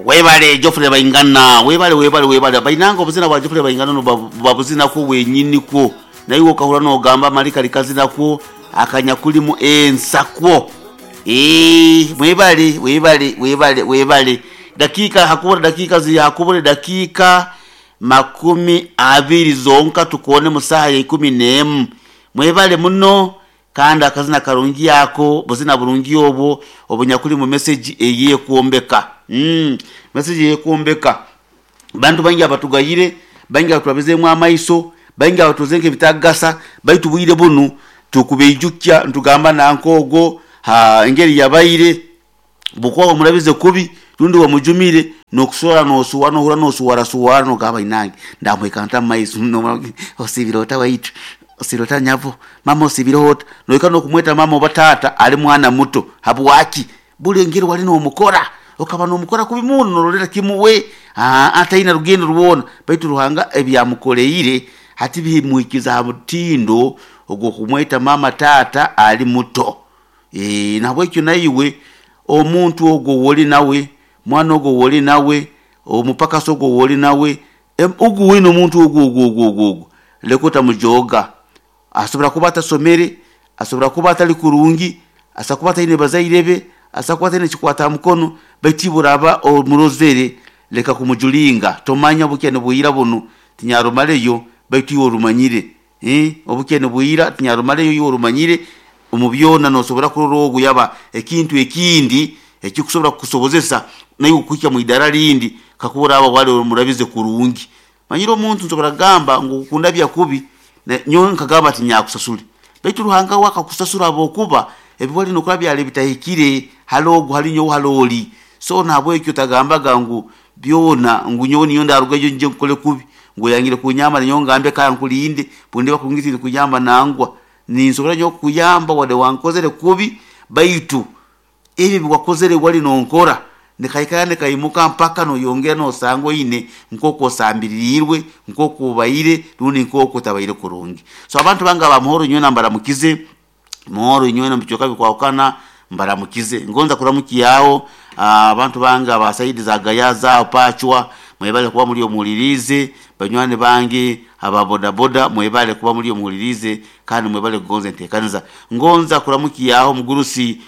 Webale Geoffrey Baingana, webale webale webale. Bainanga obuzina bwa Geoffrey Baingana no babuzina kwo wenyini kwo. Naiwe okahura nogamba mali kali kazina kwo akanyakulimu ensakwo. Eeh mwebale webale webale webale. Dakika hakubura dakika ziri hakubura dakika makumi abiri zonka tukoone mu saaha ya ikumi n'emu. Mwebale muno Kandi akazina karungi ako, buzina burungi obwo obunyakuli mu mesegi ey'ekwombeka. Umm, mesegi ey'ekwombeka. Bantu baingi abatugayire, baingi abaturabizeemu amaiso, baingi abaturozire nk'ebitakugasa, baitu bwire bunu tukubaijukya nitugamba nanka ogwo, ha, engeri yabaire. Bwokuba wamurabize kubi rundi wamujumire, nokusohora nosuwara nohurra nosuwarasuwara nogamba inange ndamuhika nta mumaiso osiibire ota waitu, osiibire ota nyabo, mama osiibireho ota? Nohika nokumweta mama oba taata ali mwana muto. Habwaki? Buli engeri wali nomukora, okaba nomukora kubi muno norolera kimu we aa taine rugendo rwona. Baitu Ruhanga ebi amukoleire hati bimuhikize ha mutindo ogw'okumweta mama taata ali muto. Eeh, nahabwekyo naiwe omuntu ogwo ow'oli nawe, mwana ogwo ow'oli nawe, omupakasi ogwo ow'oli nawe, ogu weena omuntu ogwo ogwo ogwo ogwo ogwo, leka otamujooga. Asobora kuba atasomere, asobora kuba atali kurungi, asobora kuba ataine bazaire be, asobora kuba ataine kikwata ha mukono, baitu iwe oraaba omurozere, leka kumujulinga. Tomanya obukya nibwira bunu, tinyarumaleyo, baitu iwe orumanyire. Eeh, obukya nibwira, tinyarumaleyo iwe orumanyire. Omu byona nosobora kurora ogu yaba ekintu ekindi ekikusobora kukusobozesa naiwe kuhika mwidara rindi kakuba oraba wali omurabize kurungi. Manyire omuntu nsobora kugamba ngu kundabya kubi nyowe nkagamba tinyakusasule. Baitu Ruhanga we akakusasura habwokuba ebi wali nokora byali bitahikire hali ogu hali nyowe hali oli. So nahabwekyo otagambaga ngu byona ngu nyowe ninyowe ndarugayo ngye nkukole kubi ngu oyangire kunyamba nanyowe ngambe kankulinde bwendiba kurungi tindikuyamba nangwa. Ninsobora nyowe kukuyamba wadde wankozere kubi, baitu ebi ebi wakozere wali nonkora nikaikara nikaimuka mpaka noyongera nosanga oine nk'oku osambiriirwe, nk'oku obaire rundi nk'oku otabaire kurungi. So abantu bange aba Muhoro inywena mbaramukize, Muhoro inywena omu bicweka bikwahukana mbaramukize. Ngonza kuramukyaho abantu bange aba saidi za Gayaza aho Pachwa, mwebale kuba muri omuhuliriize, banywani bange aba bodaboda mwebale kuba muri omuhuliriize kandi mwebale kugonza enteekaniza. Ngonza kuramukyaho omugurusi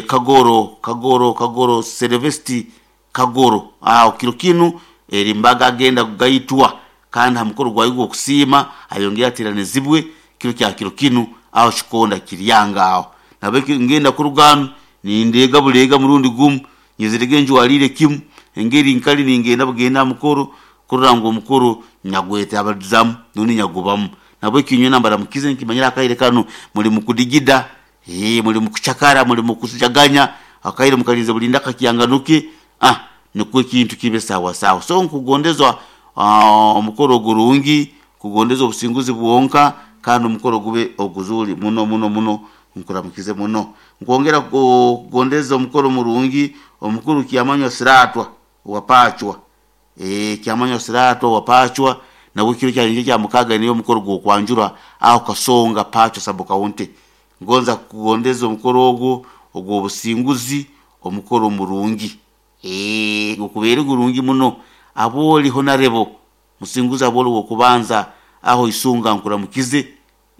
Kagoro, Kagoro, Kagoro Selevesti Kagoro aho kiro kinu eri mbaga agenda kugaitwa kandi ha mukoro gwayo gw'okusiima ayongere ateranizibwe kiro kya kiro kinu aho Kikonda Kiryanga aho. Nahabweki ngenda kuruga hanu nindeega buleega murundi gumu nyezirege njwaliire kimu engeri nkali ningenda bugenda ha mukoro kurora ngu omukoro nyagwetabalizamu rundi nyagubamu. Nahabweki inywena mbaramukize ninkimanyira akaire kanu muli mukudigida, eeh muli mukucakara, muli mukujaganya, akaire mukalinze bulinda kakyanganuke ah nukwo ekintu kibe sawa sawa. So nkugondeza omukoro ogurungi, nkugondeza obusinguzi bwonka kandi omukoro gube oguzuri muno muno muno, nkuramukize muno. Nkwongera kugondeza omukoro murungi omukuru Kyamanywa Siratwa owa Pachwa, eeh Kyamanywa Siratwa owa Pachwa nawe kiro kya nyenkya kya mukaaga aineyo omukoro gw'okwanjura aho Kasonga Pachwa Sub County. Ngonza kukugondeza omukoro ogwo ogw'obusinguzi, omukoro murungi. Eeh gukubeere gurungi muno. Aboli Honarebo Musinguzi aboli ow'okubanza aho Isunga nkuramukize.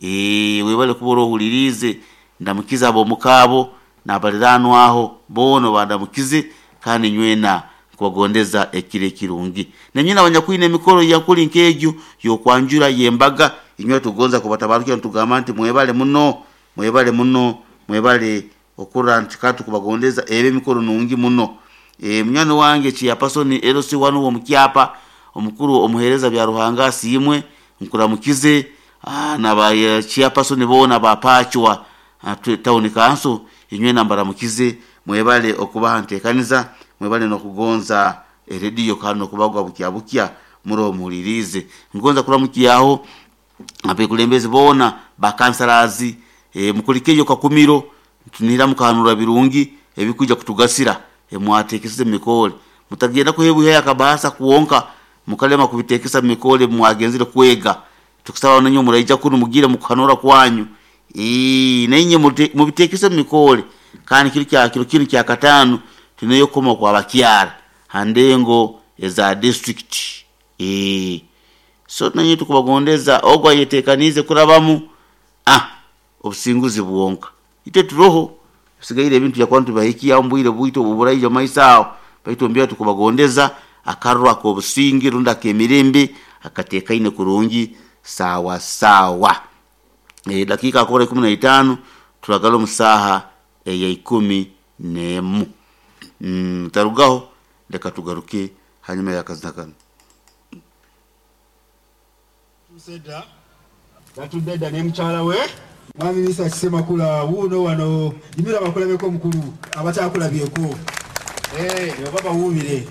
Eeh webale kuba orohuliriize, ndamukize ab'omuka abo n'abaliraanwa aho boona obandamukize kandi nywena nkubagondeza ekiro ekirungi. Nainywe abanyakwine emikoro eyankuli nk'egyo y'okwanjura y'embaga, inywe tugonza kubatabarukira nitugamba nti mwebale muno, mwebale muno, mwebale okurora nti ka tukubagondeza ebe emikoro nungi muno. Eeh munywani wange Chairperson LC wanu ow'omu kyapa, omukuru omuheereza Byaruhanga asiimwe, nkuramukize na ba Chairperson boona aba Pachwa Town Council, inywena mbaramukize, mwebale okuba ha nteekaniza, mwebale n'okugonza erediyo kandi n'okubagwa bukya bukya muroho muhuliriize. Ngonza kuramukyaho abekulembezi boona ba councillors, mukulikeyo Kakumiro, nitunihira mukahanura birungi ebikwija kutugasira ebimwateekesize omu mikoore. Mutagenda kuheebwa akabaasa kwonka mukalema kubiteekesa omu mikoore ebi mwagenzere kwega. Tukusaba nainywe muraija kunu mugiire mukuhanura kwanyu. Ii, nainywe mubiteekese omu mikoore. Kandi kiro kya kiro kinu kyakataano twineyo okukoma okw'abakyara. Ha ndengo eza district. So nanye tukubagondeza ogwo ayetekaniize kurabamu, obusinguzi bwonka. Itwe turoho, bisigaire ebintu byakuba nitubibahikiaho omu bwire bwitu oburaija omu maiso aho, baitu omu tukubagondeza akarro ak'obusinge rundi ak'emirembe akateekaine kurungi saawa saawa. Edakiika akubura 15 turagala omu saaha eya 11. Tarugaho, leka tugaruke hanyuma y'akazina kanu. Yatuuse dda, yatudde dda ne mukyala we. Mwami Mesach Ssemakula wuuno wano, yimirira bakulabeko mukulu abatakulabyeko. Eeh oba bawuubire.